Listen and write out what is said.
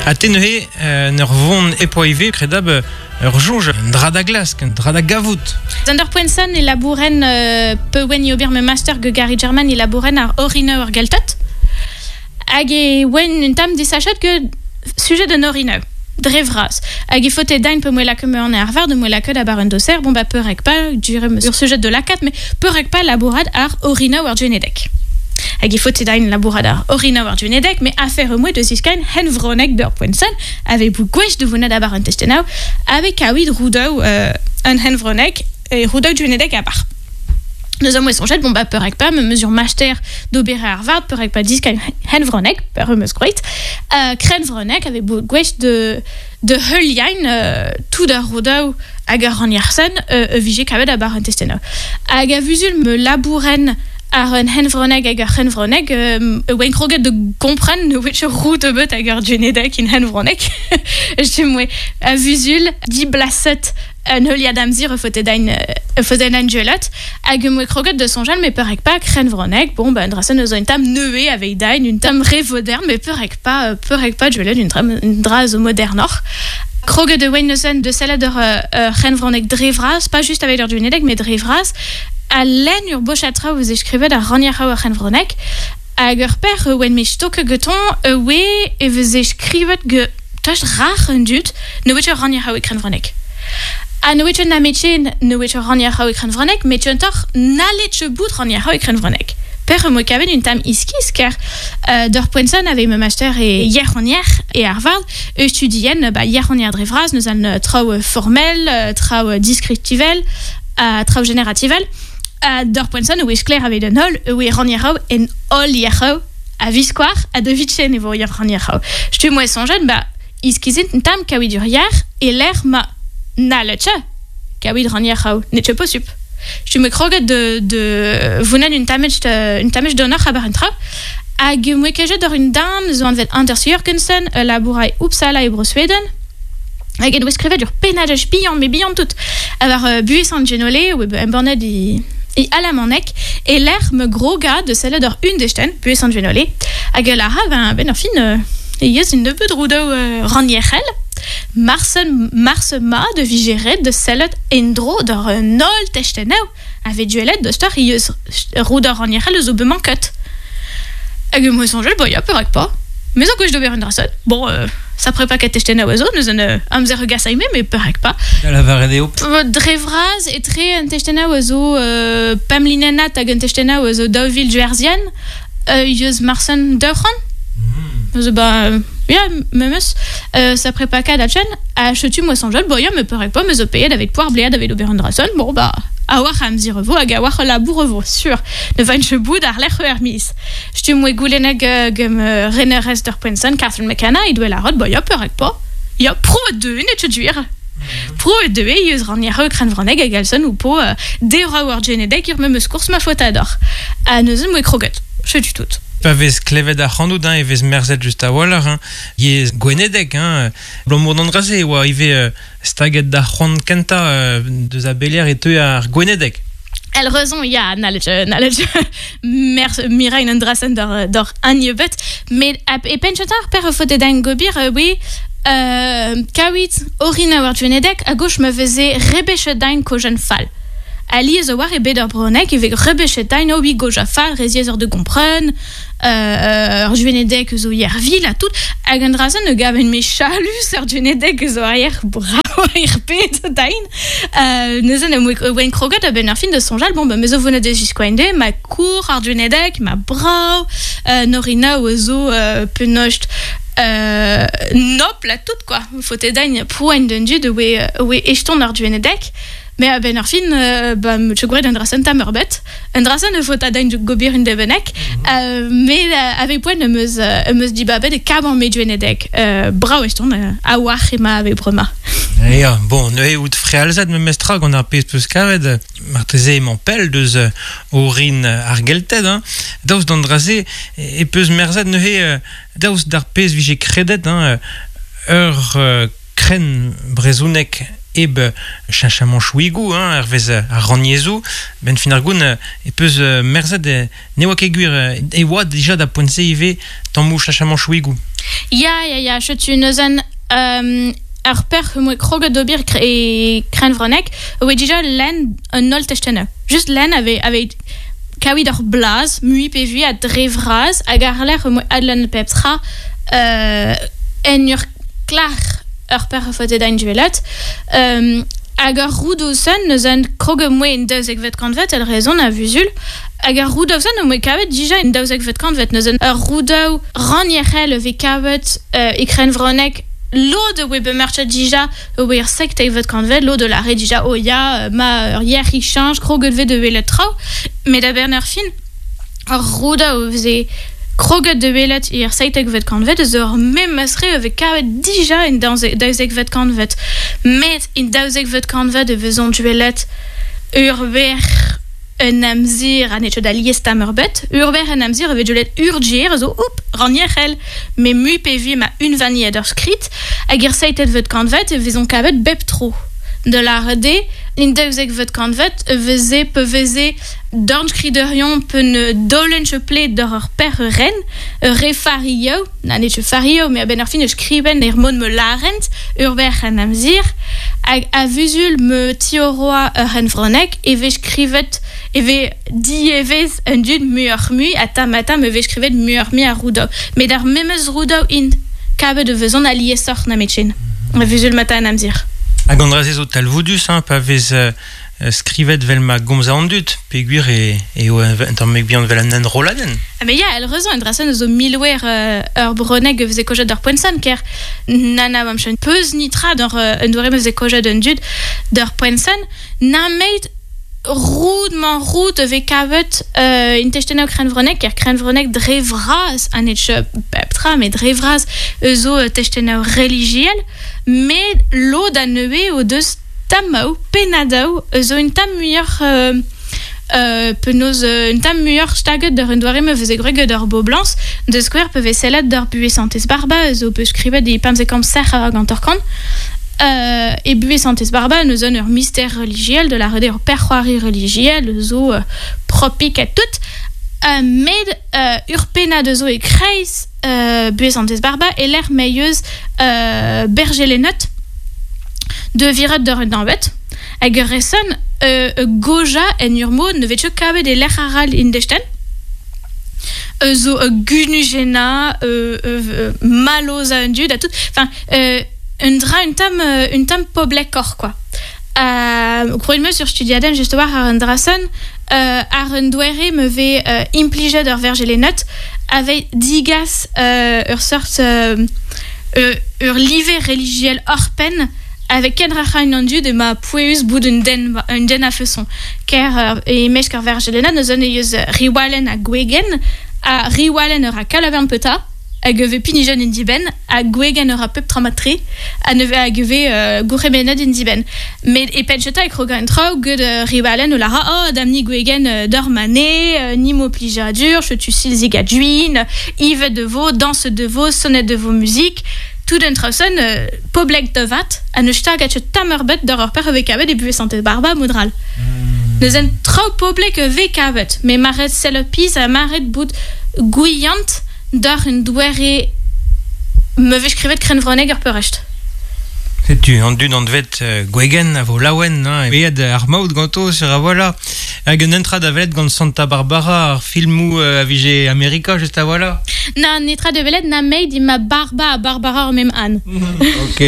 Ha te neuze, en ur vont e poa ivez, kredab, ur soñj, un dra da glask, un dra da gavout. Zander Poenson e labouren pewen i ober ma master ge Gary German e labouren ar orineu ar geltot. Hag e oen un tamm desachet ge sujet un orineu. Dre vras. Hag e faote dain pe moe lakaet an Harvard, moe lakaet abar un doser, bon ba peurek pa, dure ur sujet de lakat, mais peurek pa labourat ar orineu ar genedek. Hag e faote dain labourat ar orineu ar genedek, mais afer moe de ziskain hen vronek d'ur poenson, ave bou gwech de vonet abar un testenau, ave kaouid roudou un hen vronek, e roudou genedek abar. Nous avons sonjet, bon bah peurek pa, me mesure master d'obere Harvard, peurek pa diskain hen vronek, per meus groit, kren vronek, ave bou gwech de heuliain tout ar roudou hag ar raniersen vije kavet abar un testenau. Hag a vuzul me labouren ar un henvronek hag ar henvronek, oen kroget de kompren ne wech rout ebet hag ar genedek in henvronek. Je moe a vuzul di blaset un heuliad amzir e faote dain duelat, hag moe kroget de sonjal me peurek pa krenvronek, bon ba un drasen eus un tam neue aveit dain, un tam re moderne, me peurek pa duelat un dra zo modernoc'h. Kroget de oen neuzen de sellet ur c'henvronek dre vras, pas just aveit ur duenedek, mais dre vras, a len ur bochatra eus eskrivet ar ranierc'hao ar c'henvronek, hag ur per oen me stoke geton, oe e vez eskrivet ge tost rach un dud, ne wech ur ranierc'hao e krenvronek. Ha ne wech un ametche ne wech ur ranierc'hao e krenvronek, met un tor nalet bout ranierc'hao e krenvronek. Per moe kavet un tam iskis, ker d'ur poenson ave me master e yerc'honier e Harvard, e studien ba yerc'honier dre vras, neus an traoù formel, traoù descriptivel, traoù generativel. D'ur poenson oe skler aveit un hol, oe ranierc'hao en hol yerc'hao a viskoar a de vitchen e vo ranierc'hao. Stu moe sonjet, ba iskizint un tam kaouid ur yer e l'air ma naletche kaouid ranierc'hao, netche posup. Stu me kroget de vonen un tamech d'honneur abar un tra. Hag moe kejet d'ur un dam zo anvet Anders Jørgensen, labourai Uppsala e Bro-Sweden. Hag en oe skrivet ur penadaj bihan, me bihan tout. Avar buez an genole, oe embannet e alamanek, e l'air me groga de sellet ur un desten, buez an genole. Hag la ha, ben ur fin, e yez un nebeud roudou ranierc'hel. Mars ma de vigeret de sellet endro d'ur un ol testeneu. Ave duelet de star yez roudou ranierc'hel eus o bemanket. Hag moe sonjel, ba ya, peurek pa. Mais zo gwech d'ober un drason. Bon, ça prépa ket testeneu a zo, neus un amzer gasaime, mais peurek pa. Da la varet eo. Dre vras e tre un testeneu a zo pamlinenat hag un testeneu a zo daouvil duerzian, yeus marsen daouc'han. Zo ba, ya, memes, ça prépa ket a chen, a chetu moe sonjel, ba ya, me peurek pa, me zo payet avec poar blead aveit ober un drason, bon ba, a war amzer vo hag a war labour vo, sur. Ne vain bout ar lec'h er mis. Stu moe goulennek gem renerez d'ur poenson, Catherine McKenna, e doe la rod, ba ya, peurek pa. Ya, pro de, ne te duir. Pro de eus ranierc'hao krenvronek hag alson ou po dera war genedek ur memes kours ma faot ador. A neuze moe kroget. Chetu tout. Pa vez klevet ar c'hanout, hein, e vez merzet just a walc'h, hein. Yez gwenedek, hein. Blamour d'an draze, oa ive staget da c'hoant kenta deus a belier e teu ar gwenedek. El rezon, ya, nalet mirain un drasen d'or an met e penchetar per faote dain gobir, oui, kaouit orina war genedek, a gauche me veze rebechet dain kojen fall. Ali eus a war e bet ur bronek, e vez rebechet dain o goj a fall, reziez ur de gompren, ur juenedek eus o yervil a tout, hag an drazen e gaven me chalus ur juenedek eus o ar bravo ar pet dain. Neuzen e oen kroget a ben ar fin de sonjal, bon, ba me zo vonet deus jiskoainde, ma kour ar juenedek, ma brao, norina eus o penost nop la tout, quoi. Faote dain poen d'un dud oe eston ar juenedek. Mais a ben ar fin, ba, me tche un drasen tam ur bet. Un drasen e faot a dain gobir un debenek. Mais avec poen emeus di babet e kab an me juenedek. Brao eston, a war ema ave brema. Ya, bon, neuze out frealzet me mestra gant ar pez peus kavet, marteze emañ pell deus orin ar gelted, hein. Daoust d'an draze e peus merzet neuze daoust d'ar pez vije kredet, hein, ur kren brezounek eb cheñchamant chouigou, hein, er vez ar ranniezou, ben fin ar goun e peus merzet ne oa ket gwir e oa dija da poent-se ivez tammou cheñchamant chouigou. Ya, ya, ya, setu neuzen ar per moe kroget d'ober e krenvronek, oe dija lenn un holl testennoù. Just lenn ave, ave kaouit ur blaz, mui pe vui a dre vras, hag ar lec'h moe adlenn pep tra en ur klar ur per fote da duelet. Hag ar roudousen neuzen kroget moe en 12vet kantvet el rezon a vuzul, hag ar roudousen o moe kavet dija en 12vet kantvet neuzen ur roudoù ranierel ve kavet e krenvronek lod oe bemerchet dija oe ur 17vet kantvet, lod de la re dija o ya ma ur yer i change kroget ve de welet traoù, met a bern ur fin ar roudoù veze kroget de welet ir 17vet kantvet eus ur memes re ve kavet dija en 12vet kantvet. Met in 12vet kantvet e vezont duelet ur ber un amzir a netcho da liestam ur bet, ur ber un amzir e vez duelet urgier zo oup, ranierel, me mu pe vi ma unvaniet ur skrit, hag ir 17vet kantvet e vezont kavet bep tro. De la rede, in 12vet kantvet e veze pe veze dorn skriderion pe ne dolen ple d'ur ur per ren, re fario, na net fario, me a ben ar fin e skriben er mod me larent, ur ber an amzir, hag a vuzul me tioroa ur en vronek, e vez skrivet, e vez dievez un dud muioc'h mui, a tam a tam e vez skrivet muioc'h mui a roudo. Met ar memes roudo int kavet de vezon a liesoc'h na metchen. A vuzul mata an amzir. Hag an draze zo talvoudus, hein, pa vez skrivet vel ma gomz an dud, pe gwir e, e o un tamm bihan vel an enroladenn. Ah, mais ya, el rezon, en drasen zo milwer ur broneg veze kojet d'ur poenson, ker nana am chen peus nitra d'ur un doare me veze kojet un dud d'ur poenson, na meit roud man roud ve kavet in testennoù krenvronek, ker krenvronek dre vras, an etch pep tra, met dre vras zo testennoù religiel, met lod a neue o deus tammaou, penadaou, zo un tam muioc'h penaos un tam muioc'h staget d'ur un doare me veze greget d'ur boblans, de skouer pe vez sellet d'ur buez santez barba, zo peus skrivet e pamze kamp serr hag an torkan. E buez santez barba neus un ur mystère religiel, de la rede ur perc'hoari religiel, zo propik a tout, med ur pennad zo e kreiz buez santez barba, e l'er meieus bergelenot de viret d'ur un danvet, hag ur reson goja en ur mod ne vet kavet e l'er aral in desten, zo gunugena, maloz a un dud, a tout, enfin, un dra un tam poblekor, quoi. Kroet me sur studiaden just war ar un drason, ar un doere me ve implijet ur vergelenot, avec digas ur sort ur live religiel orpen avec ken racha un dud e ma poueus bout un den a feson. Ker e mesk ar vergelenot neus un eus riwalen a gwegen, a riwalen ur a kalavern peta, hag ve pinijen in diben, a gwegen ur a pep tramatre, a neve hag ve gourremenad in diben. Met e pencheta e kroga en traoù ged riwalen o lara, oh, damni gwegen d'ur mane, ni mo plijadur, chetu silzig a duin, ive de vo, danse de vo, sonnet de vo musique, tout un traoù poblek de vat, a neus stag a tamerbet d'ur ur per ve kavet e buez santez barba modral. Neus en traoù poblek ve kavet, me maret sellopiz a maret bout gouillant d'ur un doere me vez skrivet krenvroneg ur peurecht. Setu, an dud an dvet gwegen a vo laouen, hein, e ar maout ganto sur a voilà. Hag un entra da velet gant Santa Barbara, ar filmou a vije Amerika, just a voilà. Na, netra de velet na meid ma barba a Barbara ar mem an. Ok.